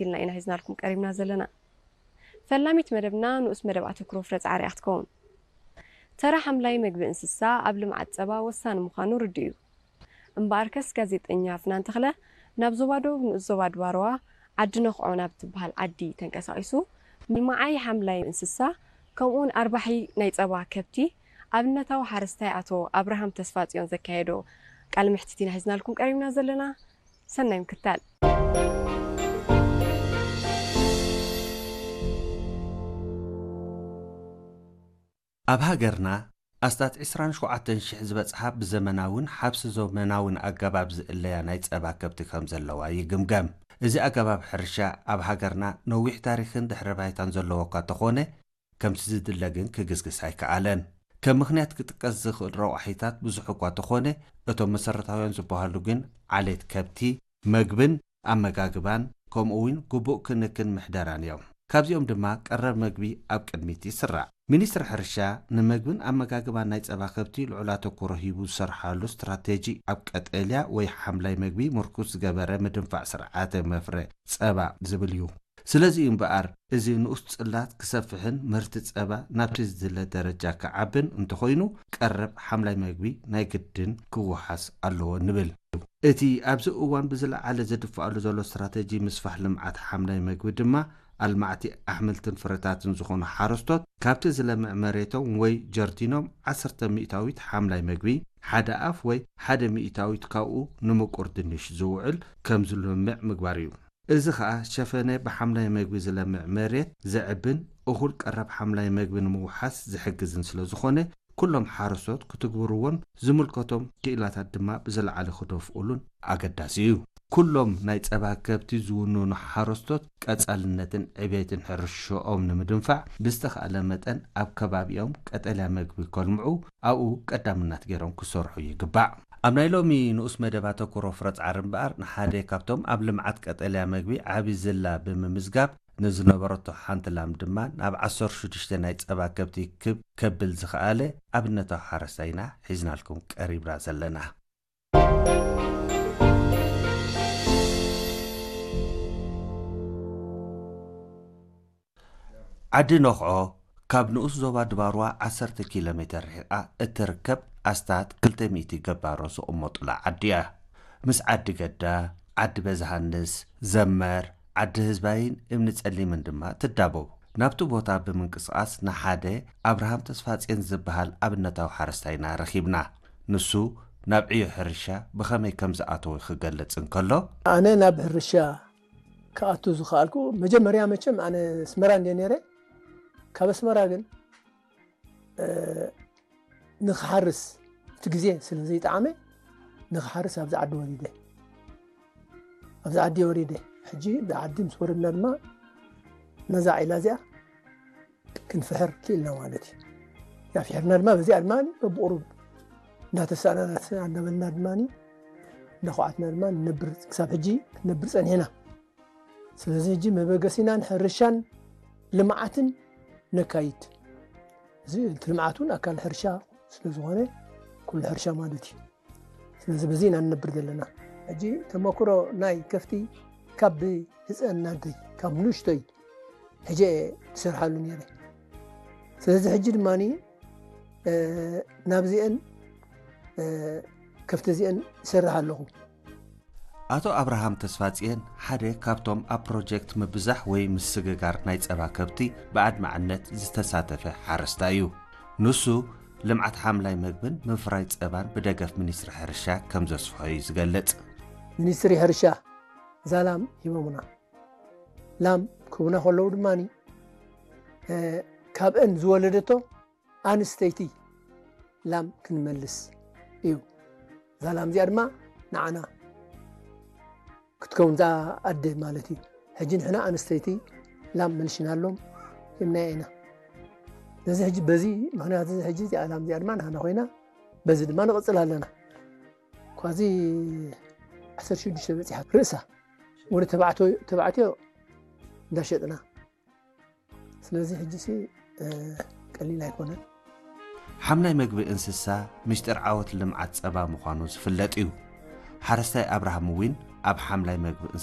ኢልና ኢና ሒዝናልኩም ቀሪብና ዘለና። ፈላሚት መደብና ንኡስ መደብ ኣተኩሮ ፍረ ጻዕሪ እያ ክትከውን። ተራ ሓምላይ መግቢ እንስሳ ኣብ ልምዓት ጸባ ወሳኒ ምዃኑ ርዱእ እዩ። እምበኣርከስ ጋዜጠኛ ፍናን ተኽለ ናብ ዞባ ደቡብ ንኡስ ዞባ ድባርዋ ዓዲ ነኽዖ ናብ ትበሃል ዓዲ ተንቀሳቒሱ ምልማዓይ ሓምላይ እንስሳ ከምኡውን ኣርባሒ ናይ ጸባ ከብቲ ኣብነታዊ ሓረስታይ ኣቶ ኣብርሃም ተስፋጽዮን ዘካየዶ ቃለ መሕትት ኢና ሒዝናልኩም ቀሪብና ዘለና። ሰናይ ምክታል። ኣብ ሃገርና ኣስታት ዕስራን ሸውዓተን ሽሕ ዝበጽሓ ብዘመናውን ሓብሲ ዘመናውን ኣገባብ ዝእለያ ናይ ጸባ ከብቲ ከም ዘለዋ ይግምገም። እዚ ኣገባብ ሕርሻ ኣብ ሃገርና ነዊሕ ታሪኽን ድሕረ ባይታን ዘለዎ እኳ ተኾነ፣ ከምቲ ዝድለ ግን ክግስግስ ኣይከኣለን። ከም ምኽንያት ክጥቀስ ዝኽእል ረቋሒታት ብዙሕ እኳ ተኾነ፣ እቶም መሰረታውያን ዝበሃሉ ግን ዓሌት ከብቲ፣ መግብን ኣመጋግባን፣ ከምኡ እውን ግቡእ ክንክን ምሕደራን እዮም። ካብዚኦም ድማ ቀረብ መግቢ ኣብ ቅድሚት ይስራዕ። ሚኒስትሪ ሕርሻ ንመግብን ኣመጋግባን ናይ ጸባ ከብቲ ልዑል ኣተኩሮ ሂቡ ዝሰርሓሉ ስትራቴጂ ኣብ ቀጠልያ ወይ ሓምላይ መግቢ ምርኩስ ዝገበረ ምድንፋዕ ስርዓተ መፍረ ጸባ ዝብል እዩ። ስለዚ እዩ እምበኣር እዚ ንኡስ ጽላት ክሰፍሕን ምህርቲ ጸባ ናብቲ ዝድለ ደረጃ ክዓብን እንተኾይኑ ቀረብ ሓምላይ መግቢ ናይ ግድን ክወሓስ ኣለዎ ንብል። እቲ ኣብዚ እዋን ብዝለዓለ ዝድፍኣሉ ዘሎ ስትራቴጂ ምስፋሕ ልምዓት ሓምላይ መግቢ ድማ ኣልማዕቲ ኣሕምልትን ፍረታትን ዝኾኑ ሓረስቶት ካብቲ ዝለምዕ መሬቶም ወይ ጀርዲኖም ዓሰርተ ሚእታዊት ሓምላይ መግቢ፣ ሓደ ኣፍ ወይ ሓደ ሚእታዊት ካብኡ ንምቁር ድንሽ ዝውዕል ከም ዝለምዕ ምግባር እዩ። እዚ ኸኣ ሸፈነ ብሓምላይ መግቢ ዝለምዕ መሬት ዘዕብን እኹል ቀረብ ሓምላይ መግቢ ንምውሓስ ዝሕግዝን ስለ ዝኾነ ኩሎም ሓረስቶት ክትግብርዎን ዝምልከቶም ክኢላታት ድማ ብዝለዓለ ክደፍኡሉን ኣገዳሲ እዩ። ኩሎም ናይ ጸባ ከብቲ ዝውንኑ ሓረስቶት ቀጻልነትን ዕቤትን ሕርሽኦም ንምድንፋዕ ብዝተኻእለ መጠን ኣብ ከባቢኦም ቀጠልያ መግቢ ከልምዑ ኣብኡ ቀዳምነት ገይሮም ክሰርሑ ይግባእ። ኣብ ናይ ሎሚ ንኡስ መደብ ኣተኩሮ ፍረ ጻዕሪ እምበኣር ንሓደ ካብቶም ኣብ ልምዓት ቀጠልያ መግቢ ዓቢ ዝላ ብምምዝጋብ ንዝነበረቶ ሓንቲ ላም ድማ ናብ ዓሰርተ ሽዱሽተ ናይ ጸባ ከብቲ ክብ ከብል ዝኸኣለ ኣብነታዊ ሓረስታይ ኢና ሒዝናልኩም ቀሪብና ዘለና። ዓዲ ነኽዖ ካብ ንኡስ ዞባ ድባርዋ ዓሰርተ ኪሎ ሜተር ርሒቓ እትርከብ ኣስታት ክልተ ሚእቲ ገባሮ ዝቕመጡላ ዓዲ እያ። ምስ ዓዲ ገዳ፣ ዓዲ በዝሃንስ፣ ዘመር፣ ዓዲ ህዝባይን እምኒ ጸሊምን ድማ ትዳቦ። ናብቲ ቦታ ብምንቅስቓስ ንሓደ ኣብርሃም ተስፋጽዮን ዝበሃል ኣብነታዊ ሓረስታይና ረኺብና። ንሱ ናብ ዕዮ ሕርሻ ብኸመይ ከም ዝኣተወ ክገልጽ እንከሎ፣ ኣነ ናብ ሕርሻ ክኣቱ ዝኸኣልኩ መጀመርያ መቸም ኣነ ኣስመራ እንድየ ነይረ። ካብ ኣስመራ ግን፣ እ፣ ንኽሓርስ እቲ ግዜ ስለ ዘይጠዓመ ንኽሓርስ ኣብዚ ዓዲ ወሪደ። ኣብዚ ዓዲ ወሪደ። ሕጂ ብዓዲ ምስ ወረድና ድማ ነዛ ዒላ እዚኣ ክንፍሕር ክኢልና ማለት እዩ። ያ ፍሒርና ድማ በዚኣ ድማ በብቑሩብ እንዳተሳእና እንዳተሳእና እንዳበልና ድማ እንዳኹዓትና ድማ ንነብር ክሳብ ሕጂ ክንነብር ጸኒሕና። ስለዚ ሕጂ መበገሲናን ሕርሻን ልምዓትን ነካይድ። እዚ እቲ ልምዓት እውን ኣካል ሕርሻ ስለ ዝኾነ ኩሉ ሕርሻ ማለት እዩ። ስለዚ በዚ ኢና ንነብር ዘለና። ሕጂ ተመክሮ ናይ ከፍቲ ካብ ብህፀንናተይ ካብ ንእሽቶይ ሕጂ እየ ዝሰርሓሉ ነይረ። ስለዚ ሕጂ ድማ ናብዚአን ከፍቲ እዚአን ይሰርሕ ኣለኹ። ኣቶ ኣብርሃም ተስፋጽየን ሓደ ካብቶም ኣብ ፕሮጀክት ምብዛሕ ወይ ምስግጋር ናይ ጸባ ከብቲ ብኣድማዕነት ዝተሳተፈ ሓረስታይ እዩ። ንሱ ልምዓት ሓምላይ መግብን ምፍራይ ጸባን ብደገፍ ሚኒስትሪ ሕርሻ ከም ዘስፍሖ እዩ ዝገልጽ። ሚኒስትሪ ሕርሻ እዛ ላም ሂቦምና። ላም ክህቡና ከለዉ ድማ ካብአን ዝወለደቶ ኣንስተይቲ ላም ክንመልስ እዩ። እዛ ላም እዚኣ ድማ ንዓና ክትከውን እዛ ኣደ ማለት እዩ። ሕጂ ንሕና ኣንስተይቲ ላም መልሽናሎም ሂብናያ ኢና። ነዚ ሕጂ በዚ ምኽንያት እዚ ሕጂ እዚኣ ላም እዚኣ ድማ ንሕና ኮይና በዚ ድማ ንቕጽል ኣለና። ኳዚ ዓሰርተ ሽዱሽተ በጺሓ ርእሳ ወደ ተባዕትዮ እንዳሸጥና ስለዚ ሕጂ ሲ ቀሊል ኣይኮነን። ሓምላይ መግቢ እንስሳ ምስጢር ዓወት ልምዓት ጸባ ምዃኑ ዝፍለጥ እዩ። ሓረስታይ ኣብርሃም እውን ኣብ ሓምላይ መግቢ